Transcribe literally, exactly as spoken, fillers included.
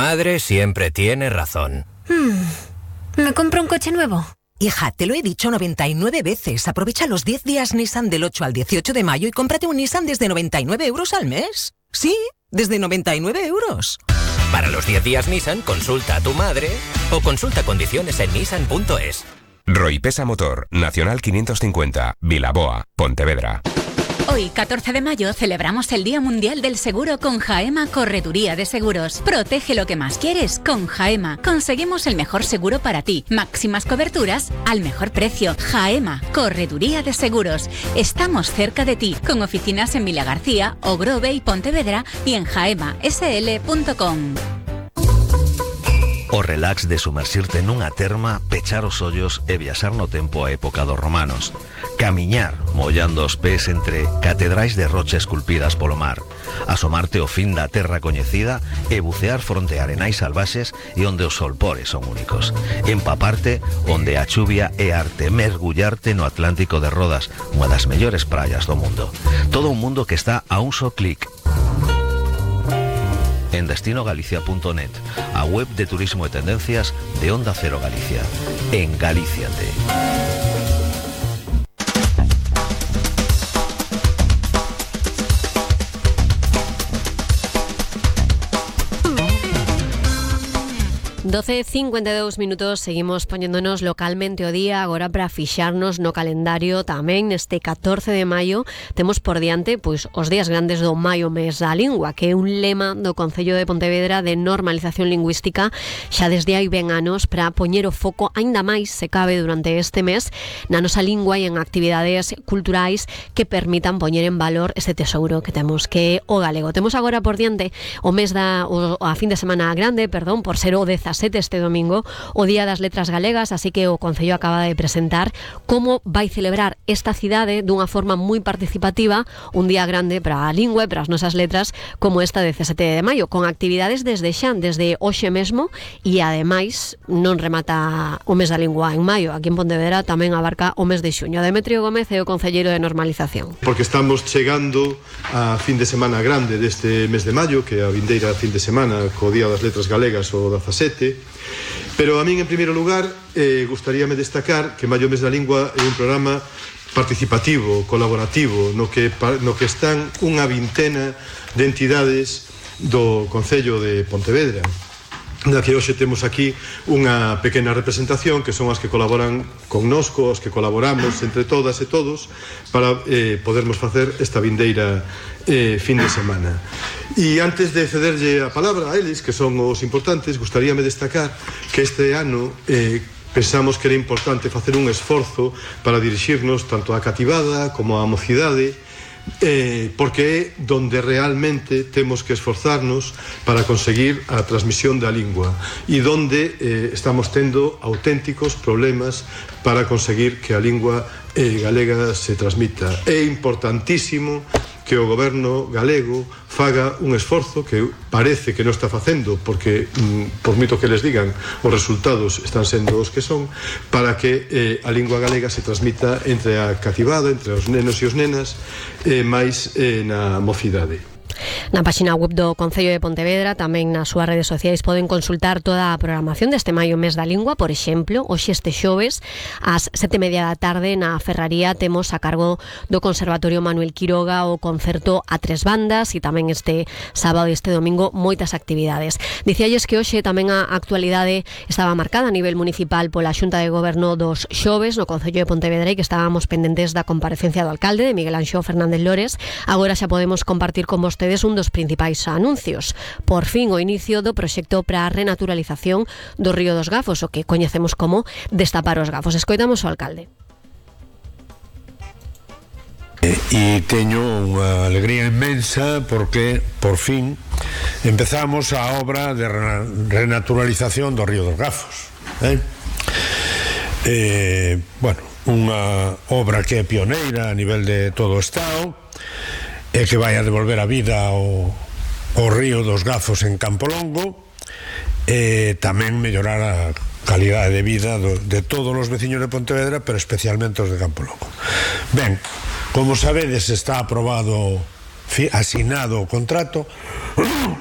madre siempre tiene razón. Hmm. ¿Me compro un coche nuevo? Hija, te lo he dicho noventa y nueve veces. Aprovecha los diez días Nissan del ocho al dieciocho de mayo y cómprate un Nissan desde noventa y nueve euros al mes. Sí, desde noventa y nueve euros. Para los diez días Nissan, consulta a tu madre o consulta condiciones en nissan punto es. Roipesa Motor, Nacional quinientos cincuenta, Vilaboa, Pontevedra. Hoy, catorce de mayo, celebramos el Día Mundial del Seguro con Jaema Correduría de Seguros. Protege lo que más quieres con Jaema. Conseguimos el mejor seguro para ti. Máximas coberturas al mejor precio. Jaema Correduría de Seguros. Estamos cerca de ti, con oficinas en Villa García, Ogrove y Pontevedra y en jaema s l punto com. O relax de sumersirte nunha terma, pechar os ollos e viaxar no tempo a época dos romanos. Camiñar, mollando os pés entre catedrais de rocha esculpidas polo mar. Asomarte ao fin da terra coñecida e bucear fronte a arenais salvaxes e onde os solpores son únicos. Empaparte onde a chuvia é arte. Mergullarte no Atlántico de Rodas, unha das mellores praias do mundo. Todo un mundo que está a un só clic en destino galicia punto net, a web de turismo e tendencias de Onda Cero Galicia. En Galíciate. doce e cincuenta e dous minutos, seguimos poñéndonos localmente o día agora para fixarnos no calendario tamén neste catorce de maio. Temos por diante pois os días grandes do Maio Mes da Lingua, que é un lema do Concello de Pontevedra de normalización lingüística xa desde hai ben anos para poñer o foco aínda máis se cabe durante este mes na nosa lingua e en actividades culturais que permitan poñer en valor este tesouro que temos, que é o galego. Temos agora por diante o mes da o, a fin de semana grande, perdón, por ser o dezasete este domingo, o Día das Letras Galegas, así que o Concello acaba de presentar como vai celebrar esta cidade dunha forma moi participativa, un día grande para a lingua e para as nosas letras como esta dezasete de maio, con actividades desde xa, desde hoxe mesmo, e ademais non remata o mes da lingua en maio, aquí en Pontevedra tamén abarca o mes de xuño. Demetrio Gómez é o concelleiro de normalización. Porque estamos chegando a fin de semana grande deste mes de maio, que é a vindeira fin de semana co Día das Letras Galegas o dezasete. Pero a min, en primeiro lugar, eh, gustaríame destacar que Maio Mes da Lingua é un programa participativo, colaborativo, no que, no que están unha vintena de entidades do Concello de Pontevedra, na que hoxe temos aquí unha pequena representación que son as que colaboran connosco, os que colaboramos entre todas e todos para eh, podermos facer esta vindeira eh, fin de semana. E antes de cederlle a palabra a eles, que son os importantes, gustaríame destacar que este ano eh, pensamos que era importante facer un esforzo para dirixirnos tanto á cativada como á mocidade, Eh, porque é donde realmente temos que esforzarnos para conseguir a transmisión da lingua e donde eh, estamos tendo auténticos problemas para conseguir que a lingua eh, galega se transmita. É importantísimo que o goberno galego faga un esforzo que parece que non está facendo, porque mm, por moito que les digan os resultados están sendo os que son, para que eh, a lingua galega se transmita entre a cativada, entre os nenos e os nenas, eh, máis eh, na mocidade. Na páxina web do Concello de Pontevedra, tamén nas súas redes sociais, poden consultar toda a programación deste Maio Mes da Lingua. Por exemplo, hoxe este xoves ás sete e media da tarde na Ferraría temos a cargo do Conservatorio Manuel Quiroga o concerto a tres bandas, e tamén este sábado e este domingo moitas actividades. Dicíalles que hoxe tamén a actualidade estaba marcada a nivel municipal pola Xunta de Goberno dos xoves no Concello de Pontevedra, e que estábamos pendentes da comparecencia do alcalde, de Miguel Anxo Fernández Lores. Agora xa podemos compartir con vostedes un dos principais anuncios. Por fin o inicio do proxecto para a renaturalización do Río dos Gafos, o que coñecemos como Destapar os Gafos. Escoitamos o alcalde. E teño unha alegría inmensa porque, por fin, empezamos a obra de renaturalización do Río dos Gafos. Eh? Eh, bueno, unha obra que é pioneira a nivel de todo o Estado, e que vai a devolver a vida ao, ao Río dos Gafos en Campolongo, e tamén mellorar a calidade de vida do, de todos os veciños de Pontevedra, pero especialmente os de Campolongo. Ben, como sabedes, está aprobado, asinado o contrato